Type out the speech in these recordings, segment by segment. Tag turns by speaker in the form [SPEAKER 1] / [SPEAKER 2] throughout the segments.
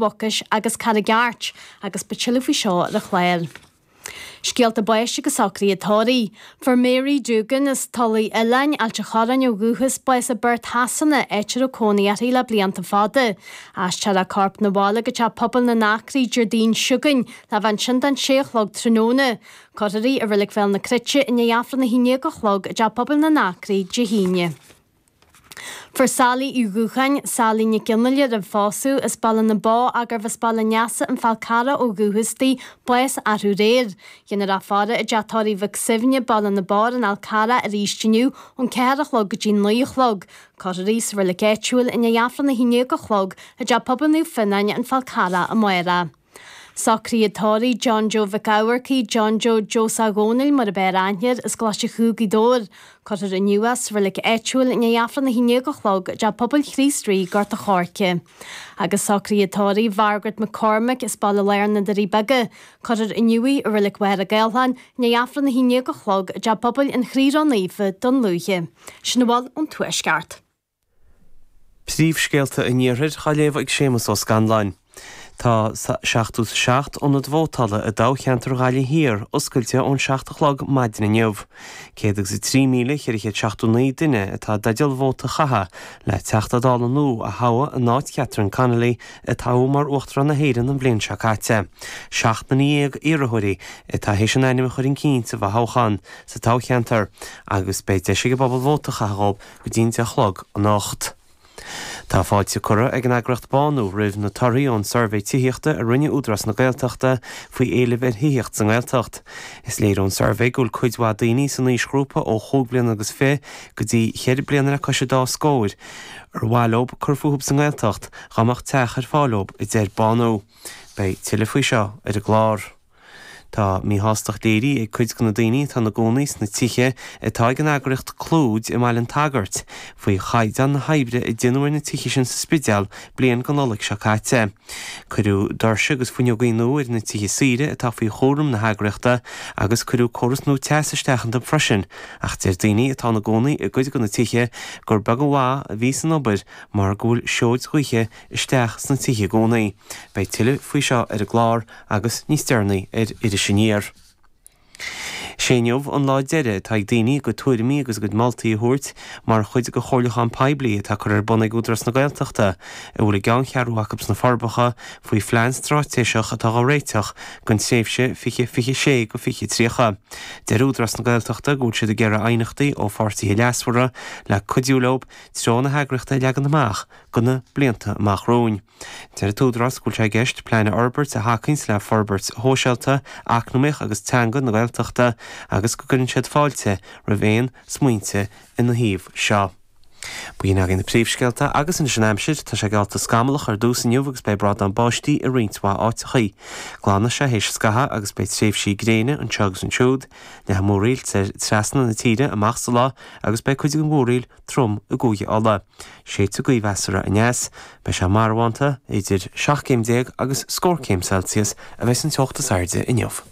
[SPEAKER 1] Mhucais agus Carraig Airt agus beidh tuilleadh faoi seo ar an chlár. Scéalta báis agus socruithe tórraimh. Fuair Mary Doogan as Tulaigh Oileáin, Ailt an Chorráin ó dhúchas, bás i bPerth Shasana, áit a raibh cónaí uirthi le blianta fada. Aistreofar a corp 'na bhaile go Teach Pobail na nAcraí Déardaoin seo chugainn le bheith ansin don sé a chlog tráthnóna. Cuirfear í i Reilig Bhéal na Cruite i ndiaidh Aifreann 11 a chlog i dTeach Pobail na nAcraí Dé hAoine. Fuair Sally Uí Dhúcháin, Sally Nic Fhionnghaile roimh phósadh, as Baile na Bó ach gurbh as Baile an Easa an Fál Carrach ó dhúchas di, bás arú aréir. Déanfar í a fhaire i dTeach Tórraimh Mhic Suibhne, Baile na Bó ar an Fhál Carrach arís inniu ón 4 a chlog go dtí 9 a chlog. Cuirfear í sa reilig áitiúil i ndiaidh Aifreann 11 a chlog i dTeach Pobail Naomh Fionnáin, An Fál Carrach amárach. Socruithe tórraimh John Joe Mhic Eamharcaigh, John Joe Joe Dhónaill mar ab fhearr aithne air, as Coláiste Chú, Gaoth Dobhair. Cuirfear inniu é sa reilig áitiúil i ndiaidh Aifreann 11 a chlog i dTeach Pobail Chríost Rí, Gort a' Choirce. Agus socruithe tórraimh Mhargaret McCormick as Baile Láir na Doirí Beaga. Cuirfear inniu í i reilig Mhachaire Gathlán i ndiaidh Aifreann 11 a chlog i dTeach Pobail an Chroí Ró-Naofa, Dún Lúiche. Sin a bhfuil ón Tuaisceart.
[SPEAKER 2] Príomhscéalta an Iarthair á léamh ag Séamus Ó Scanláin. Tá 77 ionad vótála i dtoghcheantar Ghaillimh Thiar oscailte ón 7 a chlog maidin inniu. 103,479 duine atá i dteideal vóta a chaitheamh le Teachta Dála nua a thoghadh in áit Catherine Connolly a toghadh mar Uachtarán na hÉireann an bhliain seo caite. 17 nduine iarrthóirí atá théis a n-ainm a chur chun cinn sa bhfothoghchán sa toghcheantar agus beidh deis ag an bpobal vóta a chaitheamh dhóibh go dtí an 10 a chlog anocht. Tá fáilte curtha ag an eagraíocht Bánú roimh na torthaí ón suirbhé tithíochta a rinne Údarás na Gaeltachta faoi éileamh ar thithíocht sa nGaeltacht. Is léir ón suirbhé go bhfuil cuid mhaith daoine san aoisghrúpa ó chúig bliana agus fi go dtí cheithre bliana le cois an dá scóir ar mhaith leob cur fúthub sa nGaeltacht dhá mbeadh teach ar fáil dhób, a deir Bánú. Beidh tuilleadh faoi seo ar an gclár. Tá míshástacht léirithe ag cuid de na daoine atá ina gcónaí sna tithe atá ag an eagraíocht Clúid i mBaile an tSagairt faoi chaighdeán na hoibre a déanadh ar na tithe sin sa Spidéal bliain go Nollaig seo caite. Cuireadh doirse agus fuinneogaí nua ar na tithe saoire atá faoi chúram na heagraíochta agus cuireadh córas nua teas isteach iontu freisin ach deir daoine atá ina gcónaí i gcuid de na tithe gur beag an mhaith a bhí san obair mar go bhfuil seoid ghaoithe isteach sna tithe i gcónaí. Beidh tuilleadh faoi seo ar an gclár agus níos deireanaí ar Iris Aniar. Sé inniu an lá deiridh atá ag daoine a gcuid tuairimí agus a gcuid moltaí a thabhairt mar chuid de chomhairliúchán poiblí atá curtha ar bun ag Údarás na Gaeltachta, a bhfuil a gceanncheathrú acu sna Forbacha, faoi phlean straitéiseach atá á réiteach don tréimhse 2026-2030. Deir Údarás na Gaeltachta go bhfuil siad ag iarraidh aighneachtaí ó pháirtithe leasmhara le cuidiú leo treo na heagraíochta a leagan amach do na blianta amach romhainn. Deir an tÚdarás go bhfuil sé i gceist plean a fhorbairt a thacaíonns le forbairt shóisialta, eacnamaíoch agus teanga na Gaeltachta agus go gcuireann siad fáilte roimh aon smaointe ina thaobh seo. B'in againn na príomhscéalta agus anois an aimsir. Tá sé geallta scamallach ar dtús inniu agus beidh brádán báistí i roinnt mhaith áiteachaí. Glanfaidh sé théis scathaimh agus beidh tréimhsí gréine anseo agus ansiúd. Leathfaidh múraíl trasna na tíre amach sa lá agus beidh cuid den mhúraíl trom i gCúige Uladh. Séidfidh gaoth mheasartha aneas. Beidh sé marbhánta, idir 17 céim agus scór céim Celsius a bheidh an teocht is airde inniu.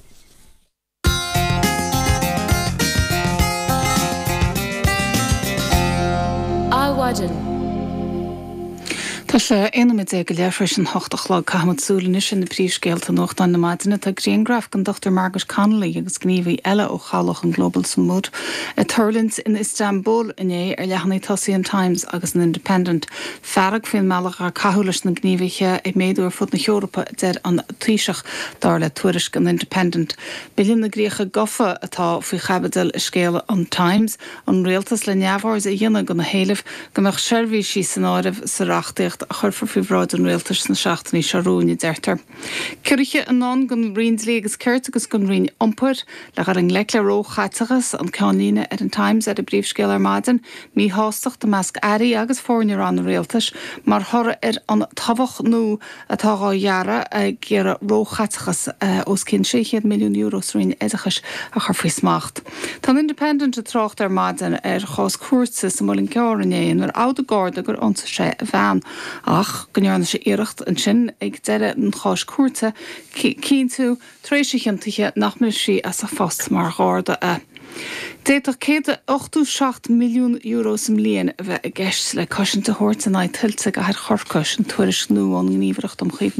[SPEAKER 3] Adhmhaidin.
[SPEAKER 4] Tá sé 11 nóiméad go leith tar éis an hocht a chlog. Caithfimid súil anois ar na príomhscéalta nuachtáin na maidine. Tá grianghraf den Dr Margaret Connolly agus gníomhaí eile ó chabhlach an Global Sumud ag tuirlingt in Istanbul inné ar leathanaigh tosaigh an Times agus an Independent. Fearg faoin mbealach ar caitheadh leis na gníomhaithe ag méadú ar fud na hEorpa, a deir an Taoiseach, dar le tuairisc an Independent. Bille na gCríocha Gafa atá faoi chaibidil i scéal an Times, an rialtas le neamhaird a dhéanamh de na héilimh go mbeadh seirbhísí san áireamh sa reachtaíocht a chuirfear faoi bhráid an rialtais sna seachtainí seo romhainn, a deirtear. Ciorruithe i ndán don Roinn Dlí agus Cirt agus don Roinn Iompair le dhul i ngleic le róchaiteachas, an ceannlíne ar an Times ar an bpríomhscéal ar maidin. Míshástacht i measc airí agus foirne ranna rialtais mar thoradh ar an tobhach nua atá dhá ghearradh ag iarraidh róchaiteachas os cionn €600 milliún sa Roinn Oideachais a chur faoi smacht. Tá an Independent ag trácht ar maidin ar chás cúirte sa Muileann gCearr inné inar admhaigh Garda gur ionsaigh sé a bhean ach go ndearna sé iarracht ansin ag deireadh an cháis cúirte cinntiú tar éis a chiontaithe nach mbrisfí as a phost mar Gharda é. D'fhéadfadh €187 milliún sa mbliain a bheith i gceist le cosaint a thabhairt in aghaidh tuilte i gcathair Chorcaí, sin tuairisc nua ón nGníomhaireacht um Chaomhnú.